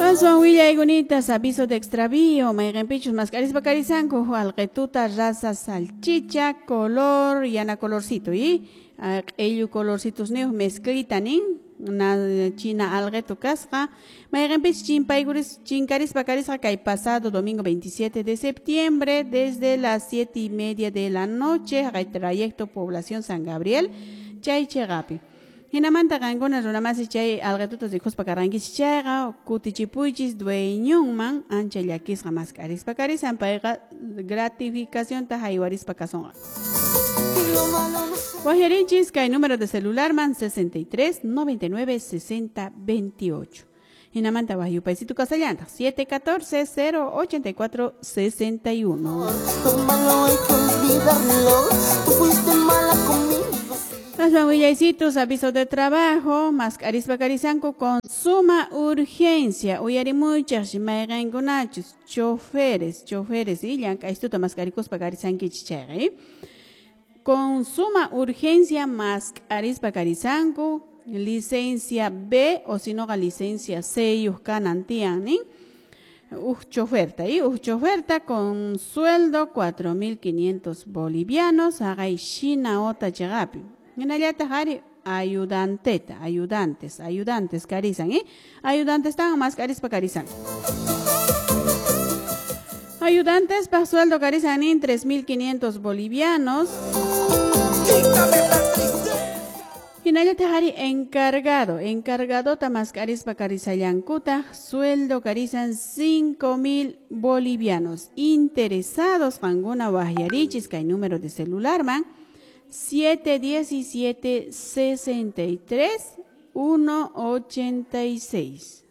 Aswan willaykunitas aviso de extravío, mayqinpichus mask'arispa karisanku alqituta raza salchicha color yana colorcito y q'illu colorcitos niyuq mezclita nin na china alqitu kasqa mayqinpichus chimpaykuris chinkarispa karisqa kay pasado domingo 27 de septiembre desde las 7:30 de la noche haqay trayecto población San Gabriel chay chiqapi. Hinamanta qankuna runamasi chay alqituta rikuspa karqankichis chayqa kutichipuychis dueñonman ancha llakisqa mask'arispa karisan payqa gratificacionta haywarispa kasunqa. Waqyarinchis kay número de celular man 63 99 60 28. Hinamanta waqyupaysitu kasallantaq 714 084 61. Tómalo, hay que olvidarlo. Tú fuiste mala conmigo. Aswan willaysitos, aviso de trabajo, mask'arispa karisanku con suma urgencia. Uyarimuychaq mayqinkunachus choferes, choferes y llank'aystuta mask'arikuspa karisankichis chayqa, ¿eh? Con suma urgencia mask'arispa karisanku licencia B o si no licencia C yuq kanan tiyan nin. Uj choferta, ¿eh? Uj choferta con sueldo 4.500 bolivianos, haqay shina ota chiqapi. Hinallataq ari ayudanteta, ayudantes, ayudantes karisan, ¿eh? Ayudantes tan mask'arispa karisan. Ayudantes pa sueldo karisan nin 3.500 bolivianos. Hinallataq ari encargado, encargadota mask'arispa karisallankutaq sueldo karisan 5.000 bolivianos. Interesados qankuna waqyarichis kay número de celular man 717 63 186.